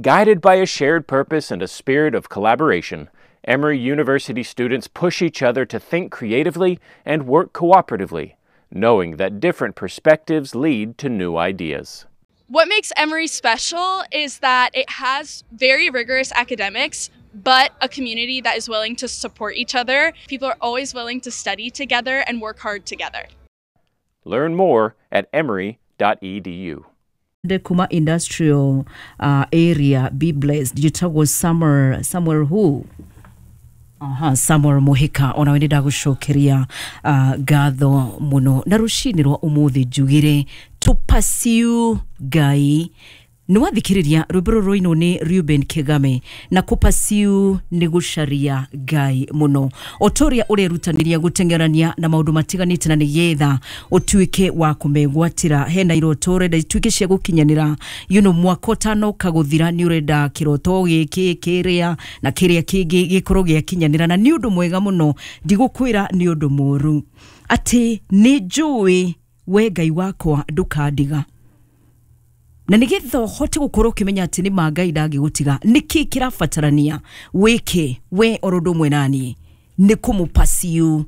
Guided by a shared purpose and a spirit of collaboration, Emory University students push each other to think creatively and work cooperatively, knowing that different perspectives lead to new ideas. What makes Emory special is that it has very rigorous academics, but a community that is willing to support each other. People are always willing to study together and work hard together. Learn more at emory.edu. Kuma industrial area, be blessed. Njĩtagwo Samuel, Samuel who? Aha, Samuel Muhika, onawe nĩ ndagũcokeria ngatho mũno. Na rũcinĩ rwa ũmũthĩ njugire to pursue Ngai. Nĩ wathikĩrĩria rwĩmbo rũrũ rũinwo nĩ Reuben Kigame, na kũpursue nĩ gũcaria Ngai mũno, o ta ũrĩa ũrerutanĩria gũteng'erania na maũndũ matiganĩte na nĩgetha ũtuĩke wa kũmegwatĩra. Hena iroto ũrenda ituĩke cia gũkinyanĩra, mwaka ũtanoka gũthira nĩ ũrenda kĩroto gĩkĩ kĩrĩa na kĩrĩa kĩngĩ gĩkorwo gĩakinyanĩra, na nĩ ũndũ mwega mũno, ndigũkwĩra nĩ ũndũ mũru, atĩ nĩ njũĩ we Ngai wakwa ndũkandiga. Na nĩgetha ũhote gũkorwo ũkĩmenya atĩ nĩ ma Ngai ndangĩgũtiga, nĩkĩ kĩrabatarania wĩke we oro ũndũ ũmwe naniĩ? Nĩ kũmũpursue,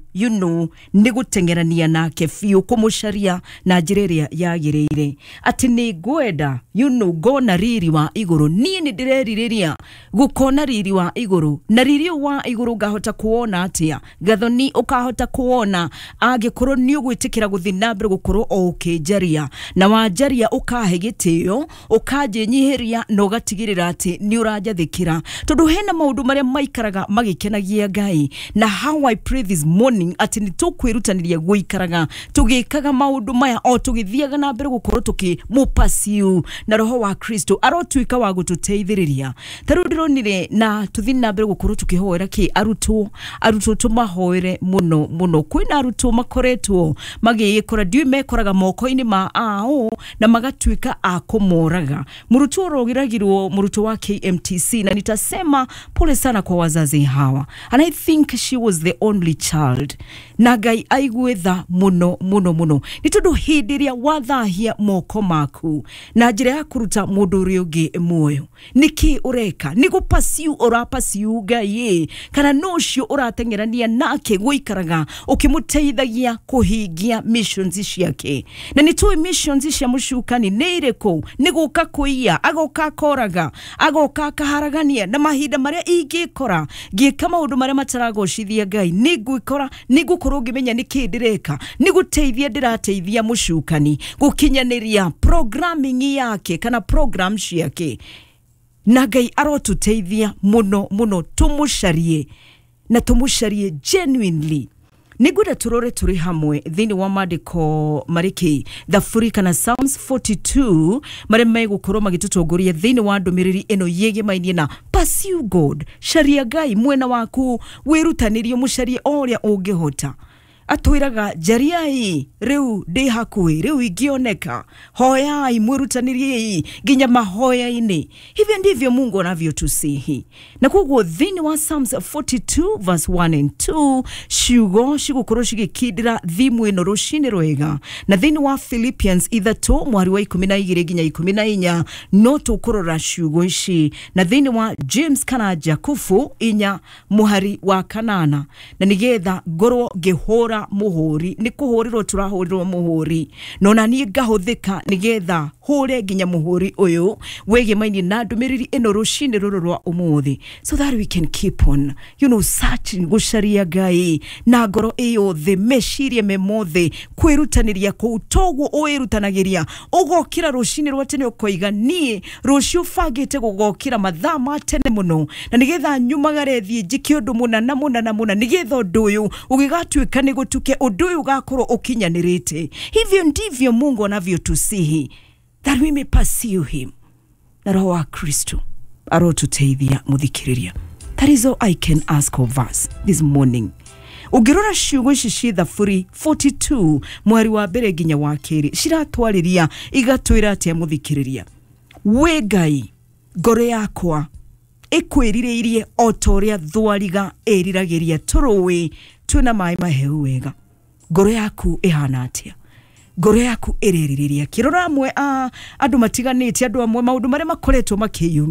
nĩ gũteng'erania nake biũ, kũmũcaria na njĩra ĩrĩa yagĩrĩire, atĩ nĩ ngwenda ngona riri wa igũrũ. Niĩ nĩ ndĩrerirĩria gũkona riri wa igũrũ, na riri ũyũ wa igũrũ ngahota kuwona atĩa? Gathoni, ũkahota kuwona angĩkorwo nĩ ũgwĩtĩkĩra gũthiĩ na mbere gũkorwo o ũkĩnjaria, na wanjaria ũkahe gĩtĩo, ũkanjĩnyihĩria, na ũgatigĩrĩra atĩ nĩ ũranjathĩkĩra, tondũ hena maũndũ marĩa maikaraga magĩkenagia Ngai. Na how I pray this morning atĩ nĩ tũkwĩrutanĩria gũikaraga tũgĩkaga maũndũ maya o tũgĩthiaga na mbere gũkorwo tũkĩmũpursue, na roho wa Kristo arotuĩka wa gũtũteithĩrĩria. Ta rĩu ndĩronire, na tũthiĩ na mbere gũkorwo tũkĩhoera kĩ arutwo, arutwo tũmahoere mũno mũno. Kwĩna arutwo makoretwo magĩĩkora, ndiũĩ mekoraga moko-inĩ ma ao na magatuĩka a kũmoraga. Mũrutwo ũroragirwo, mũrutwo wa KMTC, na nitasema pole sana kwa wazazi hawa, and I think she was the only child, na Ngai aigue tha mũno mũno mũno, nĩ tondũ hĩndĩ ĩrĩa wathahia moko maku na njĩra ya kũruta mũndũ ũrĩa ũngĩ muoyo, nĩkĩ ũreka? Nĩ gũpursue ũrapursue Ngai, kana no ũcio ũrateng'erania nake gũikaraga ũkĩmũteithagia kũhingia missions ciake? Na nĩ tũĩ missions cia mũcukani nĩ irĩkũ. Nĩ gũka kũiya, agoka akoraga, agoka akaharagania. Na mahinda marĩa ingĩkora ngĩka maũndũ marĩa mataragocithia Ngai, nĩ ngwĩkora nĩ ngũkorwo ngĩmenya nĩkĩ ndĩreka. Nĩ gũteithia ndĩrateithia mũcukani gũkinyanĩria programming yake kana program ciake. Na Ngai arotũteithia mũno mũno, tũmũcarie na tũmũcarie genuinely. Nĩngwenda tũrore tũrĩ hamwe thĩinĩ wa maandĩko marĩkĩ Thaburi kana Psalms 42, marĩa megũkorwo magĩtũtongoria thĩinĩ wa ndũmĩrĩri ĩno yĩgĩmainie na pursue God. Caria Ngai mwena waku, wĩrutanĩrie mũcarie o ũrĩa ũngĩhota. Atwĩraga njariai rĩu ndĩ hakuhĩ, rĩu ingĩoneka, hoyai, mwĩrutanĩriei nginya mahoya-inĩ. Hivyo ndivyo Mungu anavyotusihi. Na koguo thĩinĩ wa Psalms 42 verse 1 and 2, ciugo cigũkorwo cigĩkindĩra thimu ĩno rũcinĩ rwega. Na thĩinĩ wa Philippians 3 mwari wa 12 nginya 14, no tũkũrora ciugo ici. Na thĩinĩ wa James kana Jakubu 4 mũhari wa 8, na nĩgetha ngorwo ngĩhũra mũhũri, nĩ kũhũrĩrwo tũrahũrĩrwo mũhũri, no na niĩ ngahũthĩka nĩgetha hũre nginya mũhũri ũyũ wĩgĩmainie na ndũmĩrĩri ĩno rũcinĩ rũrũ rwa ũmũthĩ, so that we can keep on searching, gũcaria Ngai na ngoro ĩyothe, meciria me mothe, kwĩrutanĩria kũu toguo ũwĩrutanagĩria. Ũgokĩra rũcinĩ rwa tene ũkoiga, niĩ rũciũ bangĩte gũgokĩra mathaa ma tene mũno, na nĩgetha nyumagare thiĩ njĩke ũndũ mũna na mũna na mũna, nĩgetha ũndũ ũyũ ũgĩgatuĩka nĩ gũtuke, ũndũ ũyũ ũgakorwo ũkinyanĩrĩte. Hivyo ndivyo Mungu anavyotusihi, that we may pursue him. Na roho wa Kristo arotuteithia mũthikĩrĩria. That is all I can ask of us this morning. Ũngĩrora ciugo ici ci Thaburi 42 mweri wa 1 nginya wa 2, ciratwarĩria igatwĩra atĩa mũthikĩrĩria? We Ngai, ngoro yakwa ĩkwĩrirĩirie o ta ũrĩa thwariga ĩriragĩria tũrũĩ twĩna maĩ mahehu wega. Ngoro yaku ĩhana atĩa? Ngoro yaku ĩrerirĩria kĩrora? Amwe a andũ matiganĩte, andũ amwe maũndũ marĩa makoretwo makĩyumĩria.